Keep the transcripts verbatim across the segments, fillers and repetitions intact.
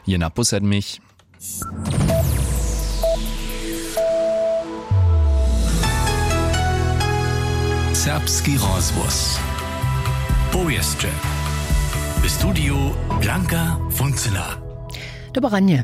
Je na pół sedmich. Serbski rozhłos. Powěsće. W studiju Blanka Funcyna. Dobre ranje.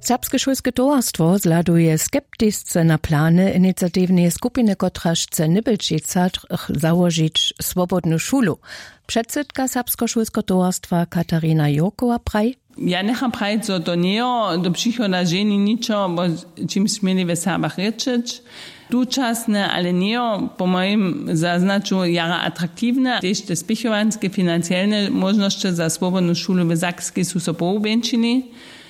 Serbske šulske towarstwo zhladuje skeptisce na plany iniciatiwneje skupiny, kotraž chce w Nybelčicach załožić swobodnu šulu. Předsydka serbskeho šulskeho towarstwa Katarina Jurkowa praji: Ja njecham prajić, zo to njejo do přichoda ženi ničo, wo čimž směli w Serbach rěčeć. Tučasne, ale njejo po mojim zaznaću jara atraktiwne. Tež te spěchowanske financielne móžnosće za swobodnu šulu w Sakskej su so pohubjeńšili.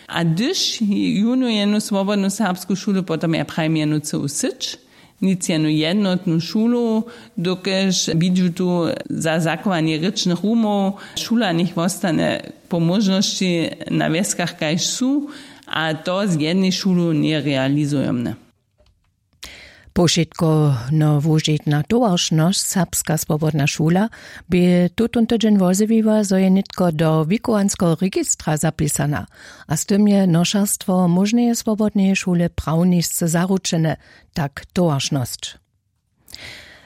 A hdyž junu jenu swobodnu serbsku šulu, potom ja prajim jenu cyłu syć, nic jenu jednotnu šulu, dokelž widźu tu za zachowanje rěčnych rumow, šula njech wostanje po móžnosći na wjeskach kaž su, a to z jednej šulu njerealizujomne. Powšitko nowužitna towaršnosć Serbska swobodna šula bě tutón tydźeń wozjewiła, zo je nětko do wikowanskeho registra zapisana, a z tym je nošerstwo móžneje swobodneje šule prawnisce zaručene, tak towaršnosć.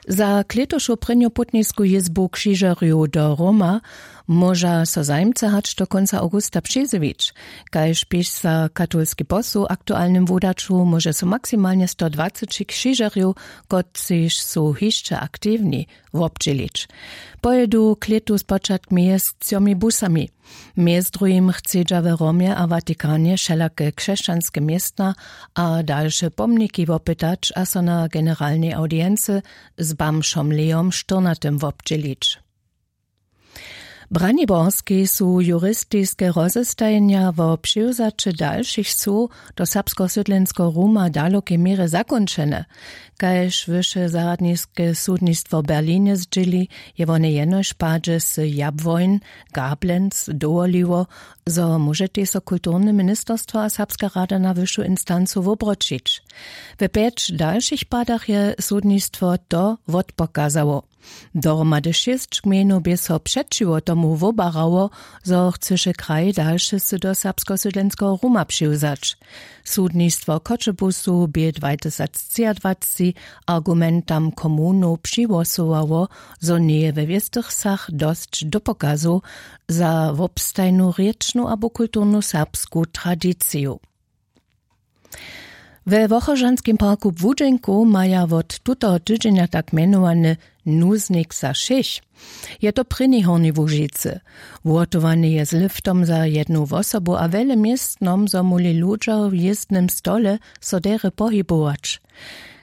Za klětušu prěnju putnisku jězbu křižerjow do Roma móža so zajimcy hač do kónca awgusta přizjewić. Kaž piša katolski posł w aktualnym wudaću, móže so maksimalnje sto dwaceći křižerjow, kotřiž su hišće aktiwni, wobdźělić. Pojědu klětu spočatk mjez třomi busami. Mjez druhim chcedźa w Romje a Watikanje wšelake křesćanske městna a dalše pomniki wopytać a so na generalnej awdiency z bamžom Leom Štyrnatym wobdźělić. W Braniborskej su juristiske rozestajenja wo přiwzaće dalšich słow do serbskeho sydlenskeho ruma w dalokej měrje zakónčene. Kaž wyše zarjadniske sudnistwo w Berlinje zdźěli, je wone jenož w padźe sy Jabłojn, Gablenc dowoliło, zo móžetej so kulturne ministerstwo a Serbska rada na wyšu instancu wobroćić. We pjeć dalšich padach je sudnistwo to wotpokazało. Dohromady šěsć gmejnow bě so přećiwo tomu wobarało, zo chcyše kraj dalše sy do serbskeho sydlenskeho ruma přiwzać. Sudnistwo w Choćebuzu bě dwatysactřiadwacci argumentam komunow přihłosowało, zo njeje we wěstych wsach dosć dopokazow za wobstajnu rěčnu abo kulturnu serbsku tradiciju. We Wochožanskim parku w Budźenku maja wot tutoho tydźenja tak mjenowany nuznik za wšěch. Je to prěni w Hornjej Łužicy. Wuhotowany je z liftom za jednu wosobu a wjele městnom, zo móhli ludźo w jězdnym stole so derje pohibować.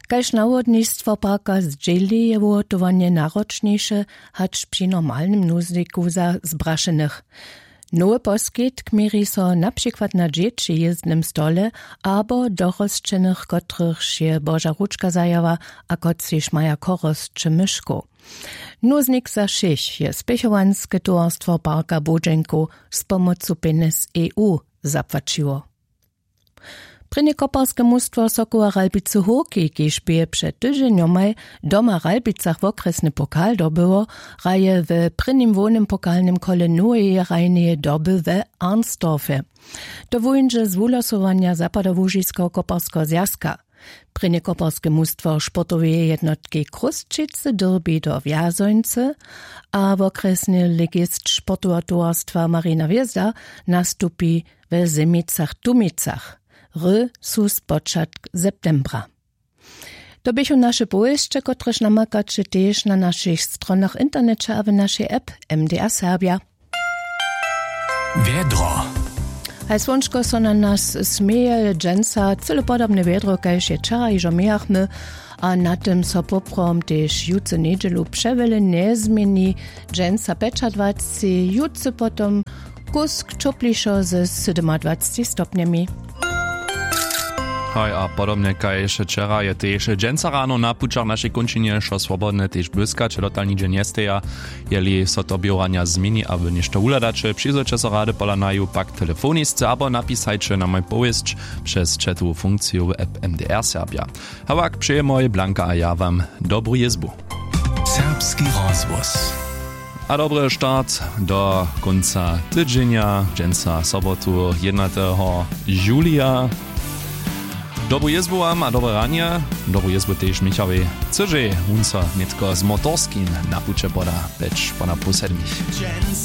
Kaž nawodnistwo parka zdźěli, je wuhotowanje naročniše hač při normalnym nuzniku za zbrašenych. Nowy poskitk měri so na přikład na dźěći w jězdnym stole abo dorosćenych, kotrychž je Boža ručka zajała a kotřiž maja chorosće myškow. Nuznik za wšěch je spěchowanske towarstwo parka Budźenkow z pomocu pjenjez E U zapłaćiło. Prěnje koparske mustwo Sokoła Ralbicy Hórki, kiž bě před tydźenjomaj doma w Ralbicach wokrjesny pokal dobyło, hraje w prěnim hłownym pokalnym kole noweje hrajneje doby we Arnsdorfje. To wuńdźe z wuhlosowanja Zapadołužiskeho koparskeho zwjazka. Prěnje koparske mustwo sportoweje jednotki Chrósćicy dyrbi do Wjazońcy a wokrjesny ligist sportoweho towarstwa Marina Hwězda nastupi we Zemicach-Tumicach. Hry su spočatk septembra. To běchu naše powěsće, kotrež namakaće tež na našich stronach w interneće a w našej app M D R Serbja. Wjedro. Haj słončko so na nas směje, dźensa cyle podobne wjedro, kaž je wčera hižo mějachmy, a na tym so poprawom tež jutře njedźelu přewjele njezměni. Dźensa pjećadwacci, jutře potom kusk ćoplišo ze sydomadwacci stopnjemi. Haj, a podobnje kaž wčera je tež dźensa rano na pućach našej kónčinje wšo swobodne tež błyskać, dotal nihdźe njesteja. Jeli so to běhowanja změni abo něšto wuhladaće, přizwójće so rady pola naju pak telefonisce abo napisajće na moj powěsć přez chatowu funkciju w app M D R Serbja. Hawak přejemoj Blanka a ja wam dobru jězbu. Serbski rozhłos. A dobry start do kónca tydźenja, dźensa sobotu, jednateho julija. Dobru jězbu wam a dobre ranje. Dobru jězbu tež michawej, chcyžej wón so nětko z motorskim na puće poda peć poda pół sedmich.